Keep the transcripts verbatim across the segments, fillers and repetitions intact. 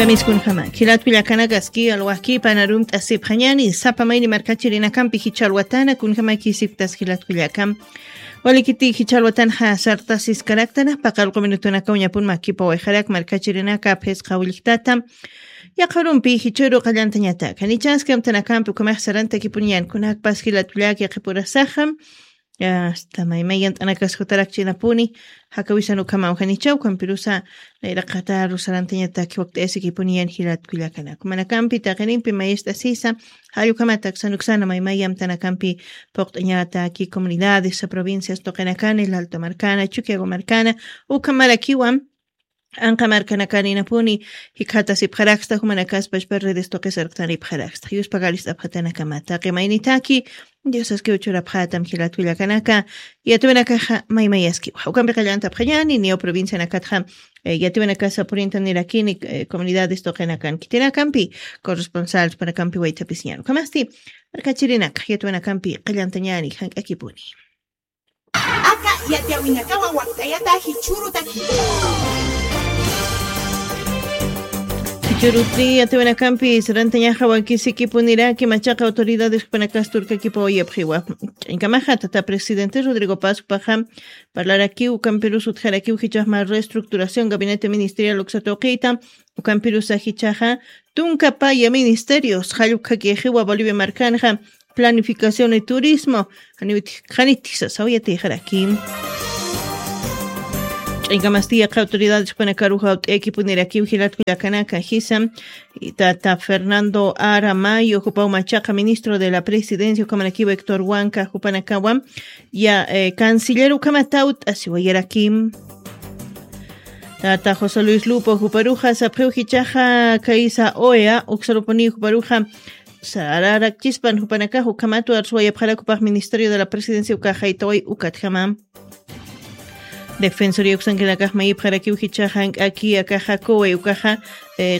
Kamiskunjama jilatkullakanakas ki alwajki panarumt'asipxañani sapa mayni markachirinakampi jichhalwatana kunjamakisiptas jilatkullakam. Walikiti jichhalwatanxa sartasiskaraktana paqallqu minutunaka uñapun makipa wayxarak markachirinaka phisqa willjtata. Yaqharumpi jichhuru qallantañataka nichaski amtanakampi ukhamax sarantakipuni yankunakpas jilatkullaki qhipurasaxa. Asta maymay yant'anakas jutarakchinapuni jakawisan ukhamaw janichaw kampirusa nayraqataru sarantañataki wakt'ayasikipuni yan jilatkullakanaku manakampi taqinimpi mayist'asisa. Jallukamatak sanuksana maymay yamtanakampi puqt'añataki comunidades provincias tuqinakani lalto markana chukiago markana ukhamarakiwan. Anqa markanakaninapuni jikhatasipxaraksta jumanakas pachpa redes tuqisarktanipxaraksta yuspa galist'apxatanakamat taqi maynitaki. Diosaskiw churapxatam jilatkullakanaka yatiwanakaxa maymayaskiwa jawkampi qallantapxañani niyaw provincianakatxa. Yatiwanakasa purinta nirakini comunidades tuqinakan kitinakampi corresponsales panakampi waytapisiñan ukhamasti markachirinaka yatiwanakampi qallantañani jank'akipuni. Aka yatiyawinakawa wakt'ayata jichhurutaki. Jichhurutri yatiwinakampi sarantañaxa wankisikipuniraki machaqa autoridades jupanakas turkakipaw yapxiwa. Ch'ankamaxa tata presidente rodrigo pascupaxa parlarakiw ukampirus utjarakiw jichhaxma reestructuración gabinete ministerial uksatuqita. Ukampirusa jichhaxa tunkapaya ministerios jallukhakixiwa bolivia markanxa planificación y turismo. Janiwitix qanitix sasaw yatixaraki. Ch'aynkamasti yaqha autoridades jupanakaruxa ut'ayakipunirakiw jilatkullakanaka jisa. Tata fernando aramayo jupaw machaqa ministro de la presidencia ukhamanakiwa héctor huanca jupanakawa ya canciller ukhamata ut'asiwayarakim. Tata josé luis lupo juparuxa sapxiw jichaxa kaysa oea uksarupuniw juparuxa sararakchispan jupanakax ukhamatu arsuwayapxarakupaq ministerio de la presidencia ukaxaytaway ukatjama. Defensoria uksankinakax mayipxarakiw jichaxa jank'aki akaxa kuway ukaxa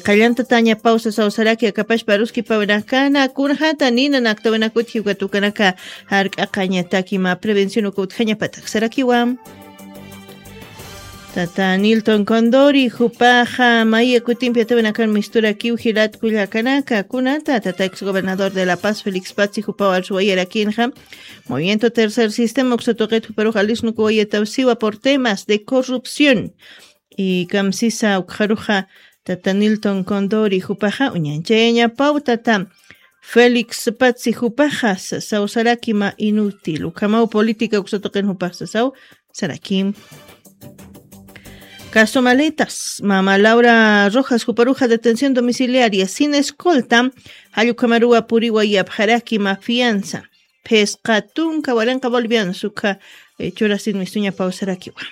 qallantatañapaw sasaw saraki akapashpa aruskipawinakana kunxata nina naktawinakut jiwkat ukanaka jark'aqañataki mä prevención uka utjañapatak sarakiwa. Tata nilton condori jupaxa maya kutimpi atawinakan misturakiw jilatkullakanaka kunata tata ex gobernador de la paz félix patsi jupaw arsuwayarakinxa. Movimiento tercer sistema uksatuqit juparux alisnukuwayataw siwa por temas de corrupción. Y kamsisa ukxaruxa tata nilton condori jupaxa uñanchayañapaw tata félix patsi jupaxa sasaw saraki mä inútil ukhamaw política uksatuqin jupax sasaw saraki. Caso maletas mama laura rojas juparuxa detención domiciliaria sin escolta. Jallukamaruwa puriwa yapxaraki mä fianza. Phisqa tunka waranqa bolivianos ukha churasin mistuñapaw sarakiwa.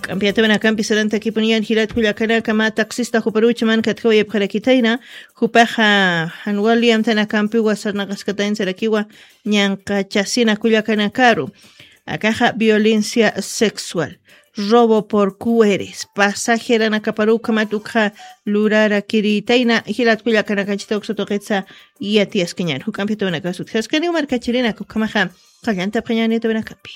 K'ampi atawinakampi sarantakipuniyan jilatkullakanaka mä taxista juparucha man katkawayapxarakitayna jupaxa jan wali amtanakampiwa sarnaqaskatayn sarakiwa. Ñanqachasina kullakanakaru akaxa violencia sexual robo por cueres pasajeranakaparu ukhamat ukxa lurarakiritayna jilatkullakanakachita uksatuqitsa. Yatiyaskañan juk'ampi atawinakas utjaskaniw markachirinaka ukhamaxa qallantapxañani atawinakampi.